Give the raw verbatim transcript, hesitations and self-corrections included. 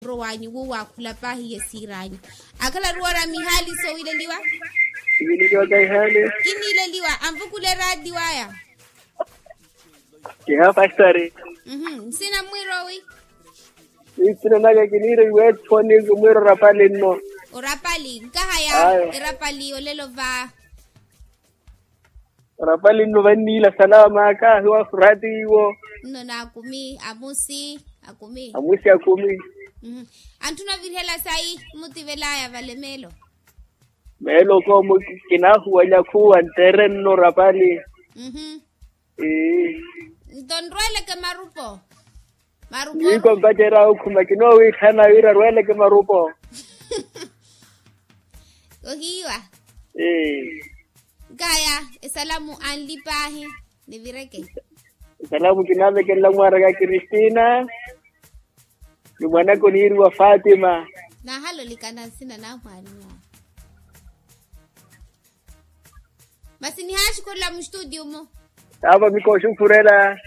Rowanyu wo wakhula pahi yesiranyu. Akhala ruwara mihaali sowileliwa. Sowileliwa kahihaali. Kinileliwa anvukule radiwaya. Kiha fastari. Nsina mwirowi. Nsina naka kiniro iwetho ni mwirowi rapali nno. Orapali nkahaya. Erapali olelo va. Orapali nno vanniila salama kahiwa furati iwo. Nno naakumi amusi akumi. Amusi akumi. Antthuna ovirihela sayi mmutivelaya vale meelo. Meelo koomo kinahuwanya khuwa ntere nno orapali. Nto nrweleke marupo. Marupo. Niiko mpacerya okhuma kinoowiikhalana wira arweleke marupo. Ohiiwa. Nkaya esalamu anli paahi. Nivireke. Esalamu kinaavekelela mwaaraka kristina. Ni mwanaka oniiriwa fatima. Nahalolikana nsina na mwaani. Masi nihaaxukhurela mustutiyo mu. Taava mikooxukhurela.